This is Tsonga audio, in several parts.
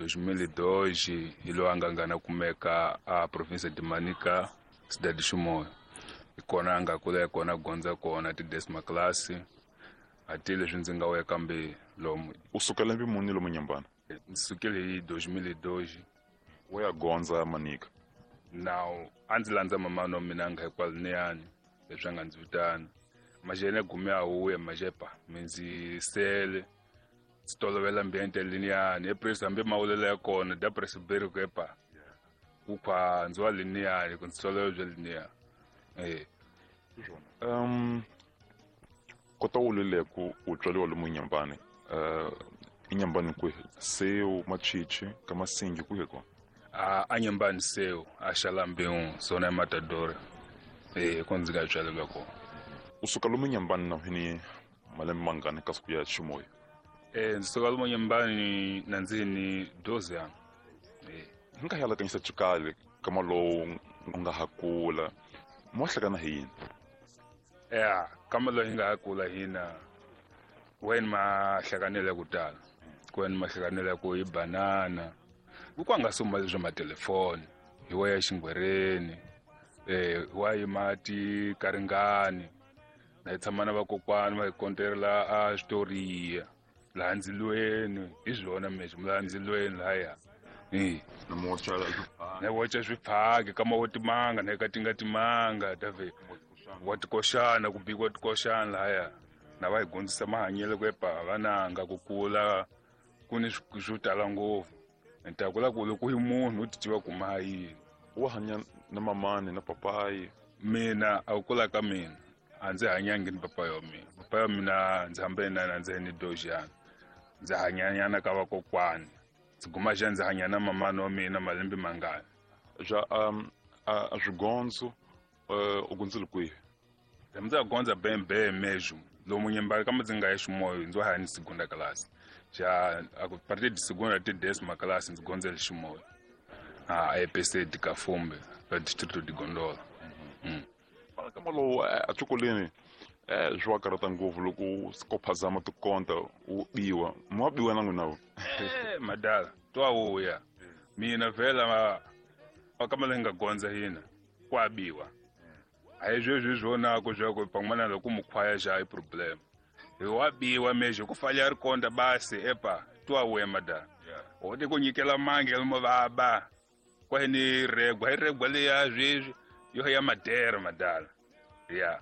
2002 hi loyi a nga ngana kumeka a province de Manica, cidade de Chimoio. Hi kona a nga kula hi kona gondza kona ti-décima classe a ti leswi ndzi nga wuya kambe lomu. U suka lembe muni lomu Nyambana? Ndzi sukile hi 2002. Wo ya gondza Manica? Now a ndzi landza mamani wa mina a nga hikwaloniyani leswi a nga ndzi vitana maxele gume a wuya maxepa mi ndzi sele ndzi tolovela ambiente liniyani epresi hambi mawulela ya kona da presiberi ku epa ku khwa ndzi wa liniyani ku ndzi tolovela bya liniya e. Kota wulile ku u tswariwa lomu Nyambani, i Nyambani kwihi? Seu Machichi ka Masingi kwihi kona? A Nyambani Seu a Xalambiu zona ya Matador, e ko ndzi nga tswalelwa kona. U suka lomu Nyambani na hini malembe mangani kasi ku ya Chimoio? Ndzi suka lomu Nyambani na ndzi ni 12 anos. Hi nga yalakanyisa chikali kama lowu u nga ha kula mo hlekana hi yini? Ya kama lowu hi nga ha kula hina weni ma hlekanele ku tala ku weni ma hlekanele ku hi banana ku kwa nga sumba leswi matelefoni hi wa ya xingwereni, wa yima ti karingani na hi tshama na vakokwani va hi konterela a switoriya laha ndzilweni hi swona mesho laha ndzilweni lahaya. Na wocha swiphaki kama wo timanga na eka timanga dave wa tikoxana ku bikiwa tikoxana lahaya na va hi dyondzisa mahanyelo ku epa vananga ku kula ku ni swo tala ngopfu ni ta kula ku loko hi munhu u ti tiva ku ma yini. Wa hanya na mamani na papayi? Mina a ku kula ka mina a ndzi hanyangi ni papa ya mina. Papa ya mina ndzi hambene na ndzi ni dojana ndzi hanyanyana ka vakokwani ndzi guma xa ndzi hanya na mamani wa mina malembe mangani. Ja a swigondzo u gondzile kwihi? Ndzi ya gondza bembe mesmo lomu Nyambani kama ndzi nga ya Chimoio ndzi wa hanya segunda classe ja a partir de segunda até décima classe ndzi gondzele Chimoio a EPC de Kafumbe la distrito de Gondola. Fana kama lowu a xikolweni swi wa karhata ngopfu loko ko phazama tikonta u biwa mi wa biwa na n'wina? Madala twa wuya mina vhela kama leyi nga gondza hina kwa biwa a hi sweswi swonako swa pan'wana loko mukhwaya xa i problem hi wa biwa mesho ku falha ri konda basi epa twa wuya madala o ti ku nyikela mangi lomo vaba kwa ni regwa hi regwa leya sweswi yo ya madera madala ya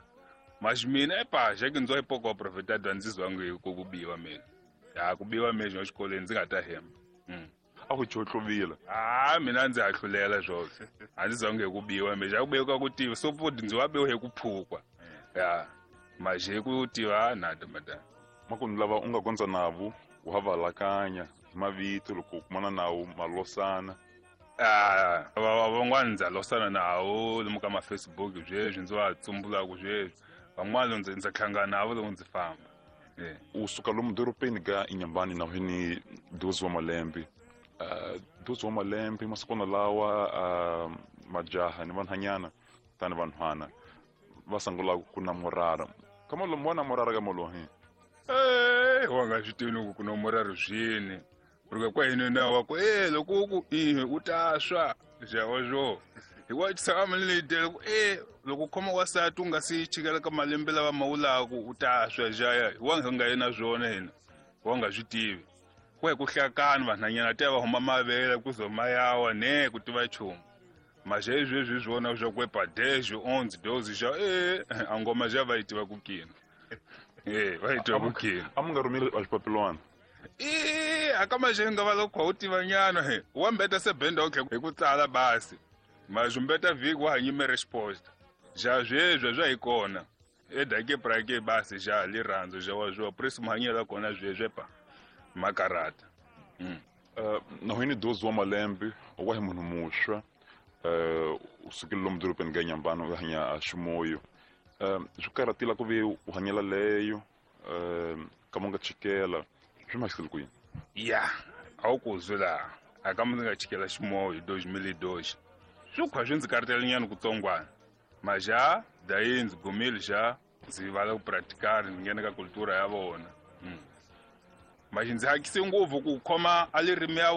mas mina epa já que ndzo pouco aproveitado ndzi zwangu hi ku biwa mina ya ku biwa mesho exikolweni ndzi nga ta hemba. A ku chotluvile? A mina ndzi hahlulela swona a ndzi zangi hi ku biwa mesho a ku biwa ku tiva so futhi ndzi wa biwa hi ku phukwa ya mas hi ku tiva nada madala. Makunu lava u nga gondza navo u ha valakanya hi mavito loko u kumana nawo malosana? Van'wana ndza losana nawo lomu ka ma-Facebook sweswi ndzi va tsumbulaka sweswi van'wana ndzi ndza hlangana navo loko ndzi famba. U suka lomu dorobeni ka Inyambani na hini 12 wa malembe, 12 wa malembe masikwana lawa majaha ni vanhanyana tani vanhwana va sungula ku namorara kama lomu wa namorara ka molo hi? Wa nga swi tivi loko ku namorara swini porque kwa hina na wa ku loko ku i u ta swa xawa swo hi wa tshama ni leyi ku loko khoma wasati u nga si chikela ka malembe lava ma wulaku u ta swa xaya wa nga yena swona hina wa nga swi tivi ku hi ku hlakana vanhanyana ta va huma mavele ku zo mayawa ne ku tiva nchumu mas sweswi swona swa ku epa 10 11 12 xa a ngoma xa va yi tiva ku kina va yi tiva ku kina. A mi nga rhumeli a xipapilwana? Aka maxenga va loko u tiva nyana he wa mbeta se benda okhe hi ku tsala basi mas mbeta vhiki wa ha nyime resposta xa sweswi swa hi kona edake prake basi xa lirhandzu xa wa swo presi mahanyelo kona sweswi pa makarata. Na hini 12 wa malembe wa hi munhu muxwa u sukile lomu dorobeni ka Nyambani u hanya a Chimoio, swi karhatile ku ve u hanyela leyo kama u nga chikela swi mahlisile ku yini? Ya a wu ku zwi laha a kama ndzi nga chikela Chimoio hi 2002 swi khwa swi ndzi karhatela nyana kutsongwana maja dayi ndzi gumile xa ndzi vala ku practical ndzi nghena ka cultura ya vona. Maxi ndzi hakise ngopfu ku khoma a lirimi ya.